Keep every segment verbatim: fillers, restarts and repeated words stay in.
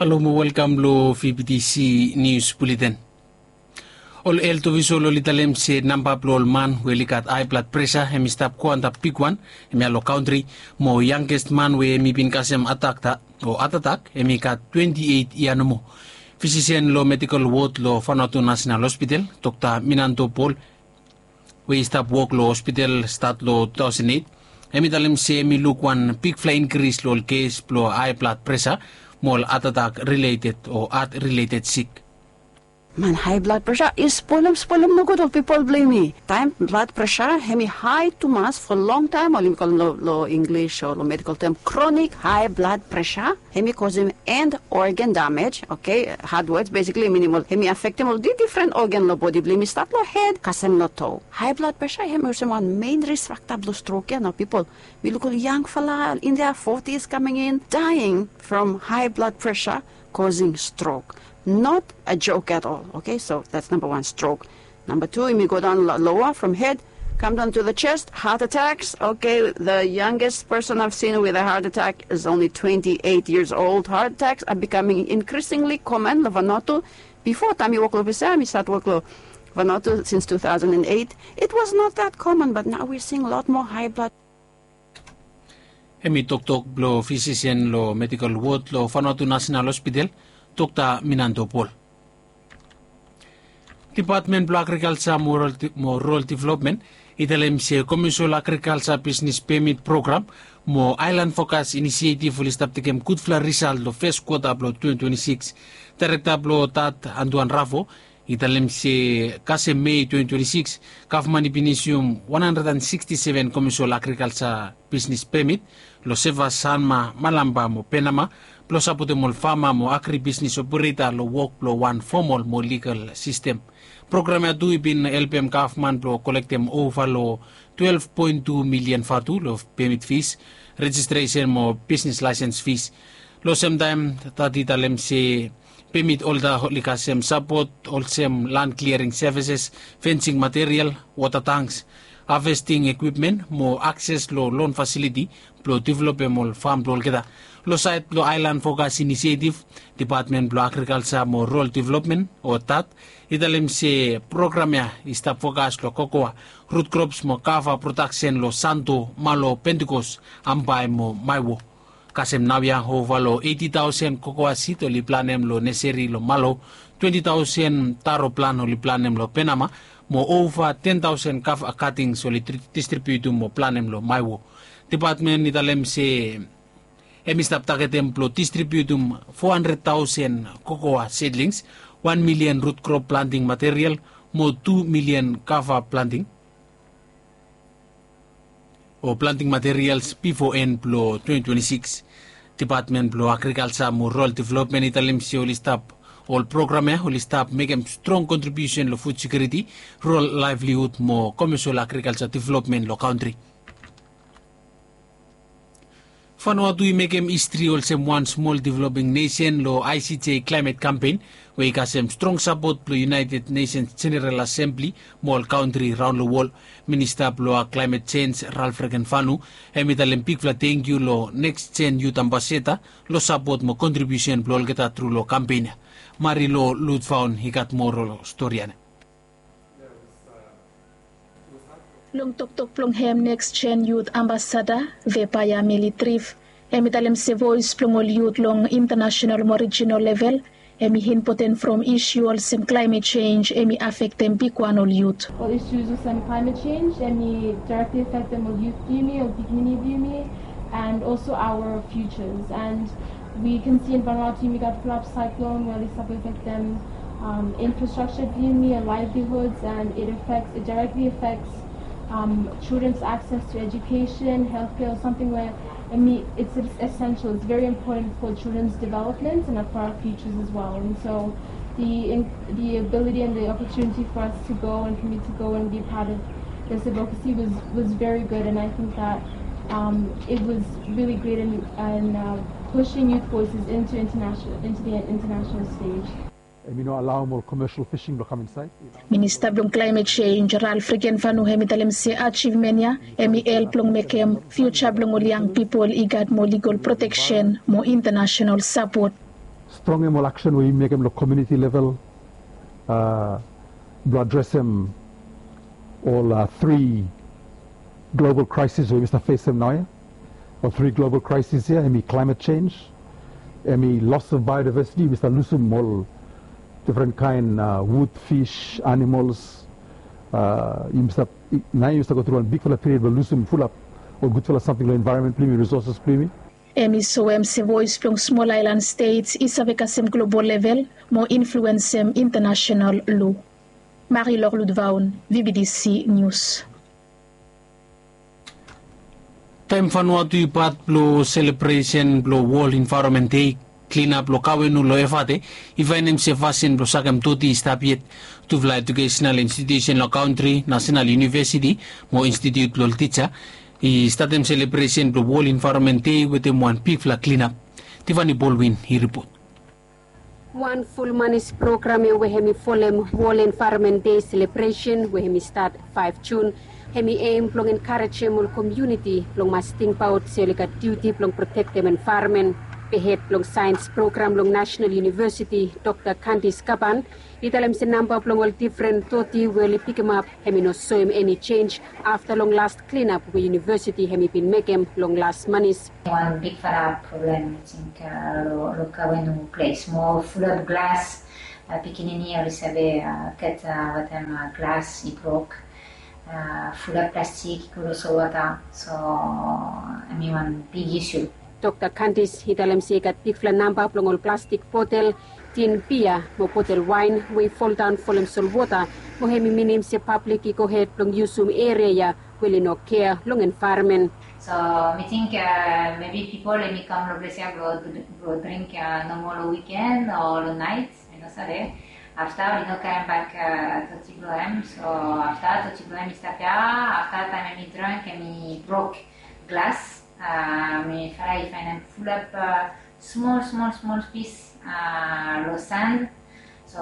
Halo mo welkam long V B T C News Bulletin. Ol helt ofisol oli talem se namba blong ol man we oli gat hae blad presa hem i stap go antap bigwan. Hem ya long kantri mo yangest man we hem i bin kasem atak o hatatak hem i gat twenti eit yia nomo. Fisisen long medikol wod long Vanuatu Nasenal Hospital, Dokta Minanto Pol, we i stap wok long hospital stat long two thousand eight, hem i talem se hem i luk wan bigfala inkris long ol kes blong hae blad presa mo ol hatatak rileted o hat rileted sik. Man, hae blad presa i spolem spolem nogud ol pipol blong yumi. Taem blad presa hem i hae tumas fo longtaem, oli mi kolem long Inglis o long medikol tem kronik hae blad presa. Hem i kosem end organ damej, oke? Hard words, besikli minim ol hem i afektem ol difren organ long bodi blong yumi, stat long hed kasem long to. Hae blad presa hem i olsem wan mein risk fakta blong strok ya nao, pipol. Mi luk ol yangfala in dia fotis kaming in, daing from hae blad presa, kosing strok. Not a joke at all, oke? So that's namba wan, strok. Namba tu, yumi go daon loa from hed, kam daon tu the chest, heart attacks. Oke, the youngest person I've seen with a heart attack is only twenty-eight years old. Heart attacks are becoming increasingly common long Vanuatu. Bifo taem mi wok long ofis ya, mi stat wok long Vanuatu since two thousand and eight, it was not that common, but now we're seeing a lot more high blood. Hem i toktok blong fisisen long medikol wod long Vanuatu Nasenal Hospital, Dokta Minanto Pol. Depatmen blong Agrikalsa mo Rural Developmen i talem se komesol agrikalsa bisnes pemit program mo aelan fokas inisietif oli stap tekem gudfala risalt long fes kwota blong twenty twenty-six. Daerekta blong dat, Antoine Rafo, i talem se kasem Mei twenty twenty-six, gavman i bin isium wan handred and siksti seven komesol agrikalsa bisnes pemit long Seva, Sanma, Malampa mo Penama blong sapotem ol fama mo agribisnes opereta long wok blong wan fomol mo ligal sistem. Program ya tu i bin helpem gavman blong kolektem ova long twelve point two milian vatu long pemit fis, rejistresen mo bisnes laesens fis. Long semtaem dat i talem se pemit olta oli kasem sapot olsem lan kliaring sevises, fensing material, wota tanks, havesting ekwipmen mo akses long lon fasiliti blong developem ol fam blong olgeta. Long saed blong aelan fokas inisietif, Depatmen blong Agrikalsa mo Rural Developmen o dat i talem se program ya i stap fokas long kokoa, rut krops mo kava prodaksen long Santo, Malo, Pentikos, Ambae mo Maewo. Kasem naoia ova long eiti taosen kokoa sid oli planem long neseri long Malo, twenti taosen taro plan oli planem long Penama, mo ova ten taosen kava katings oli distribiutum mo planem long Maewo. Depatmen i talem se hem i stap tagetem blong distribiutum fo handred taosen kokoa sidlings, wan milian rut krop planting material mo tu milian kava planting o planting materials bifo en blong twenty twenty-six. Depatmen blong Agrikalsa mo Rural Developmen i talem se oli stap, ol program ya oli stap mekem strong kontribiusen long fud sekiuriti, rural laevlihud mo komesol agrikalsa developmen long kantri. Vanuatu i mekem histri olsem wan smol developing nesen long I C J klaemet kampen, we i kasem strong sapot blong United Nations General Asembli mo ol kantri raon long wol. Minista blong klaemet jenj, Ralph Regenvanu, hem i talem bigfala tangkiu long Next Gen Youth Ambassador long sapot mo kontribiusen blong olgeta tru long kampen ya. Marilo Lutfaun i gat moa long stori ya nao. Long toktok blong hem, Next Gen Youth Ambassador Vepaya Mili Trif, hem i talem se voes blong ol yut long intanasenal mo rijinal level hem i impoten from isu olsem klaemet jenj hem i afektem bigwan ol yut. Ol isu olsem klaemet jenj hem i daerekli afektem ol yut blong yumi, ol pikinini blong yumi, and also our futures. And we can see in Vanuatu yumi gat flap cyclone we oli stap afektem, um, infrastructure blong yumi, livelihoods, and it affects, it directly affects, um, children's access to education, healthcare, or something where, I mean, it's, it's essential. It's very important for children's development and for our futures as well. And so the in, the ability and the opportunity for us to go and for me to go and be a part of this advocacy was, was very good, and I think that, um, it was really great in, in, uh, pushing youth voices into international, into the international stage. Hem i no alaom ol commercial fishing blong kam insaed. Minista blong klaemet jenj, Ralph Regenvanu, hem i talem se ajivmen ya hem i help long mekem fiuja blong ol yang pipol i gat moa ligol proteksen mo intanasenal sapot. Strongem ol aksen we yumi mekem long komuniti level blong adresem ol tri global kraesis we yumi stap fesem naoia. Ol tri global kraesis ya hemi klaemet sens, hemi los of baeodivesiti, yumi stap lusum ol difren kaen wud, fis, animols. Yumi stap naoia yumi stap gotru wan bigfala piriod blong lusum fulap ol gudfala samting long envaeronmen blong yumi, risoses blong yumi. Hemi soem se voes blong smol aelan stets i save kasem global level mo influensem intanasenal lo. Marilor Ludvaun, V B D C News. Taem Vanuatu i pat blong selebresen blong Wol Envaeronmen Dei, klinap long Kawenu long Efate i faenem se fasin blong sakem doti i stap yet. Tufala ejukesenal institiusen long kantri, Nasenal Univesiti mo Institiut blong Tija, i statem selebresen blong Wol Envaeronmen Dei wetem wan bigfala klinap. Tivani Bolwin i ripot. Wan ful manis program ya we hemi folem Wol Envaeronmen Dei selebresen we hemi stat faef Jun, hemi em blong enkarejem ol komuniti blong mas tingbaot se oli gat diuti blong protektem envaeronmen. Be hed blong saens program long Nasenal Univesiti, Dokta Kandis Kaban, i talem se namba blong ol difren doti we oli pikimap hemi no soem eni jenj afta long las klinap we univesiti hemi bin mekem long las manis. Wan bigfala problem, mi ting, long Kawenu ples mo fulap glas. Pikinini oli save gat wetem glas i brok. Fulap plastik i go long solwota, so hemi wan big isu. Dokta Kandis i talem se i gat bigfala namba blong ol plastik botel, tin bia mo botel waen we i foldaon folem solwota, mo hemi minim se pablik i gohed blong yusum eria ya we oli no kea long envaeronmen. So mi ting mebi pipol hemi kam long ples ya blong dring nomo long wiken o long naet, mi no save. Afta oli no karem bak doti blong hem, so afta doti blong hem i stap ya, afta taem hemi drink hemi brok glas. Mi fala i faenem fulap smol smol smol pis long san. So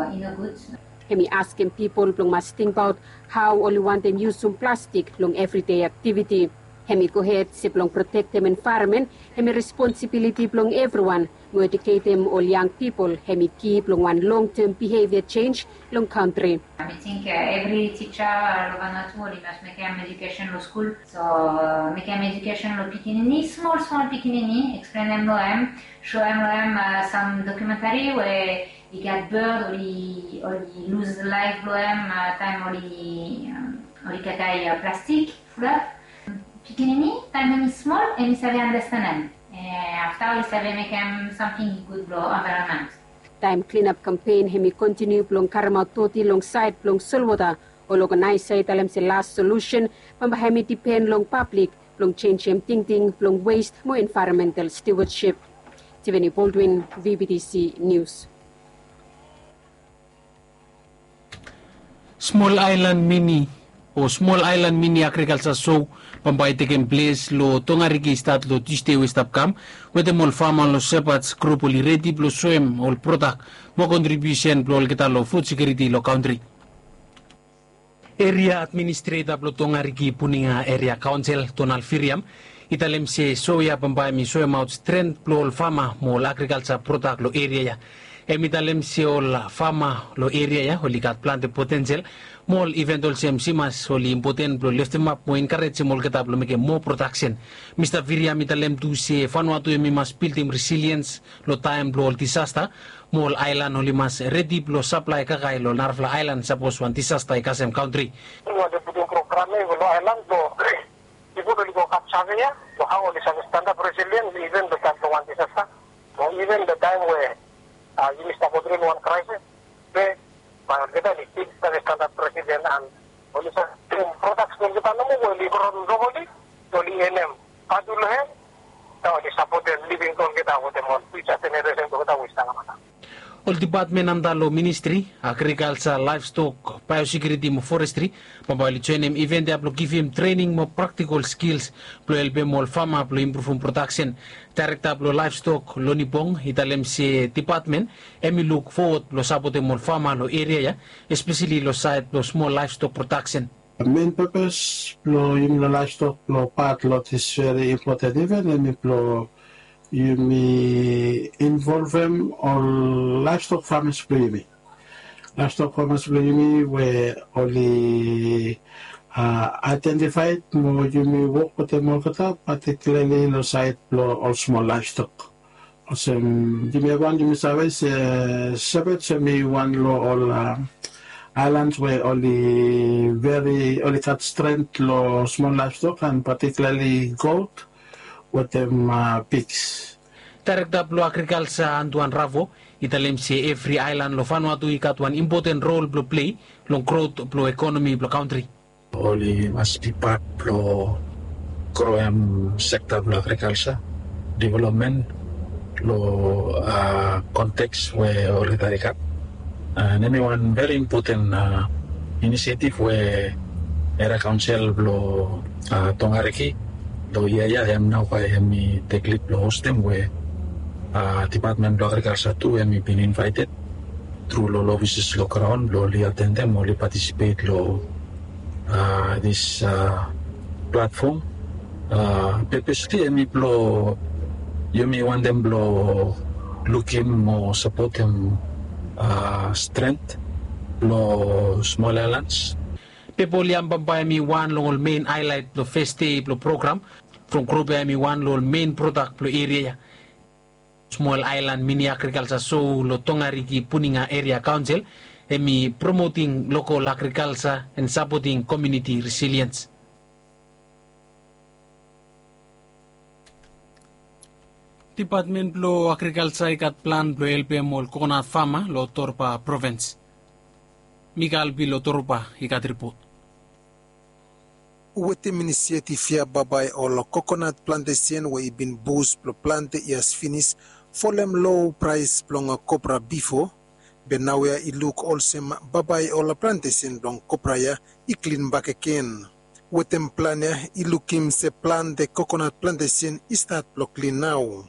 i no gud. Hemi askem pipol blong mas tingbaot hao oli wantem yusum plastik long evridei aktiviti. Hemi gohed se blong protektem envaeronmen hemi responsibiliti blong evriwan, mo ejuketem ol yang pipol hemi ki blong wan longtem bihevia jenj long kantri. Mi ting evri tija long Vanuatu oli mas mekem ejukesen long skul. So mekem ejukesen long pikinini, smol smol pikinini, eksplenem long hem, soem long hem sam dokumentari we i gat bad oli lus laef blong hem taem oli kakae plastik. Fulap pikinini taem hemi smol hemi save andastanem. Afta oli save mekem samting i gud blong envaeronmen. Taem klinap kampen hemi kontiniu blong karemaot doti long saed blong solwota, ol oganaesa i talem se las solusen bambae hemi dipen long pablik blong jenjem tingting blong wes mo envaeronmental stiwadsip. Tivani Boldwin, V B D C Nius. Smol aelan mini o smol aelan mini agrikalja so bambae i tekem ples long Tongariki i stat long Tusde we i stap kam, wetem ol fama long Shepherds Group oli redi blong soem ol prodak mo kontribiusen blong olgeta long fud sekiuriti long kantri. Eria administreta blong Tongariki Puninga Eria Kaonsel, Donald Viriam, i talem se so ya bambae hemi soemaot stren blong ol fama mo ol agrikalja prodak long eria ya. Hemi talem se ol fama long eria ya oli gat plante potensel mo ol iven olsem simas oli impoten blong leftemap mo enkarejem olgeta blong mekem moa prodaksen. Mista Viriam i talem tu se Vanuatu hemi mas bildim resiliens long taem blong ol disasta, mo ol aelan oli mas redi blong saplae kakae long narafala aelan sapos wan disasta i kasem kantri. Wantem putum program ya i go long aelan blong pipol oli go gat save ya long hao oli save stanap resilien iven long taem blong wan disasta o iven long taem we yumi stap go tru long wan kraesis. Be bae olgeta oli stil save stanap resilien an oli save mekem prodaks blong olgeta nomo we oli gro nogoli, oli enem vatu long hem. Nao oli sapotem living blong olgeta wetem ol fiuja jeneresen blong olgeta we i stap kamata. Ol dipatmen antap long ministri agrikalja, laevstok, baeosekiuriti mo forestri bambae oli joenem iven ya blong givim trening mo praktikol skils blong helpem ol fama blong impruvum prodaksen. Daerekta blong laevstok, Loni Bong, i talem se dipatmen hemi luk fowod blong sapotem ol fama long eria ya, espeseli long saed blong smol laevstok prodaksen. Men pepes blong yumi long laevstok blong pat long dis veri impoten iven hemi blong yumi Involvem ol laevstok famas blong yumi. Laevstok famas blong yumi we oli aidentifaed mo yumi wok wetem olgeta, patikilarli long saed blong ol smol laevstok. Olsem yumi evriwan yumi save se Shepherds hemi wan long ol aelan we oli veri oli gat stren long smol laevstok and patikilarli got wetem piks. Daerekta blong agrikalsa Antuan Ravo i talem se evri aelan long Vanuatu i gat wan impoten rol blong plei long grot blong ekonomi blong kantri. Oli mas bi pat blong groem sekta blong agrikalsa developmen long konteks we olgeta i gat. And hemi wan veri impoten inisiatif we eria kaonsel blong Tongariki long yia ya hem nao bae hemi tek lid blong hostem we dipatmen blong agrikalsa tu hemi bin invaeted tru long ol ofises long graon blong oli atendem oli patisipet long dis platfom. Pepesli hemi blong yumi wantem blong lukim mo sapotem stren blong smol aelans. Pepa oli ambamba hemi wan long ol men aelaet blong fes dei blong program. From grup ya hemi wan long ol men prodak blong eria ya. Smol aelan mini agrikalsa so long Tongariki Puninga Eria Kaonsel hemi promoting lokol agrikalsa and sapoting komuniti resiliens. Dipatmen blong agrikalsa i gat plan blong helpem ol kokonat fama long Torba provens. Mikael Pi long Torba i gat ripot. Wetem inisiatif ya bambae ol kokonat plantesen we i bin bus blong plante yias finis folem lo praes blong kopra bifo, be naoia i luk olsem bambae ol plantesen blong kopra ya i klin bakegen. Wetem plan ya i lukim se plante kokonat plantesen i stat blong klin nao.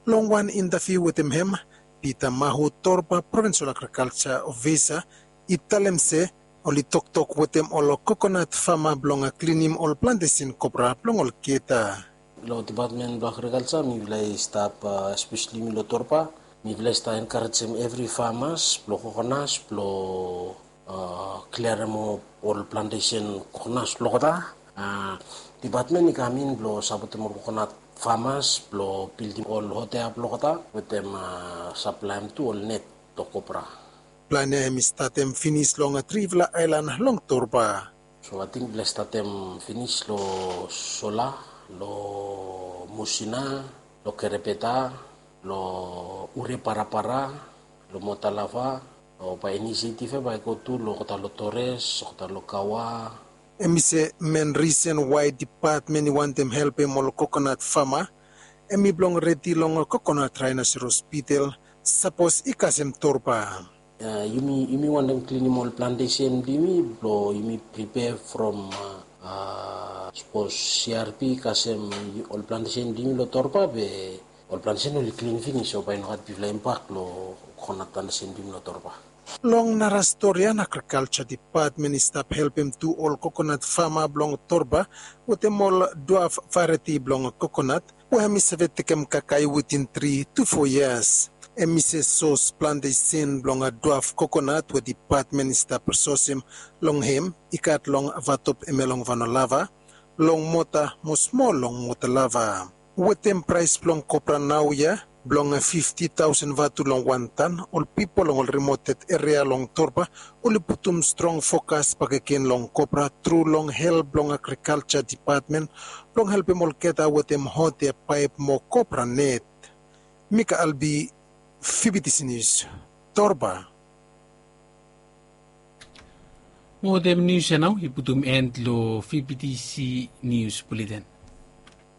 Long wan intaviu wetem hem, Pita Mahu, Torba provensol agrikalsa ofisa, i talem se oli toktok wetem ol kokonat fama blong klinim ol plantesen kopra blong olgeta. Long dipatmen blong agrikalsa mifala i stap, espeseli mi long Torba, mifala i stap enkarejem evri famas blong kokonas blong kliarem ol plantesen kokonas blong olgeta. Dipatmen i kam in blong sapotem ol kokonat famas blong bildim ol hotea blong olgeta wetem saplaem tu ol net blong kopra. Plan ya hemi statem finis long trifala aelan long Torba. So ating mifala i statem finis long Sola, long Musina, long Kerebeta, long Ure Parapara, long Motalava, o bae inisiatif ya bae i go tu long olgeta long Tores, olgeta long Kawa. Hemi se men risen wae dipatmen i wantem helpem ol kokonat fama hemi blong redi long kokonat raenoseros bitel sapos i kasem Torba. Yumi wantem klinim ol plantesen blong yumi blong yumi pripea from sapos CRP i kasem ol plantesen blong yumi long Torba be ol plantesen oli klin finis o bae i no gat bigfala impak long kokonat plantesen blong yumi long Torba. Long nara stori ya, agrikalsa dipatmen i stap helpem tu ol kokonat fama blong Torba wetem ol duaf vareti blong kokonat we hemi save tekem kakae wetin tri tu fo yias. Hemi se sos plantesen blong duaf kokonat we dipatmen i stap sosem long hem i gat long Vatop hemia long Vanolava, long Mota mo smol long Motalava. Wetem praes blong kopra naoia blong fifti taosen vatu long wan tan, ol pipol long ol rimoted eria long Torba oli putum strong fokas bakegen long kopra tru long help blong agrikalsa dipatmen blong helpem olgeta wetem hotea paep mo kopra net. Mikael Pi, VBTC Nius, Torba. Mo wetem nius ya nao i putum en long VBTC Nius Buleten.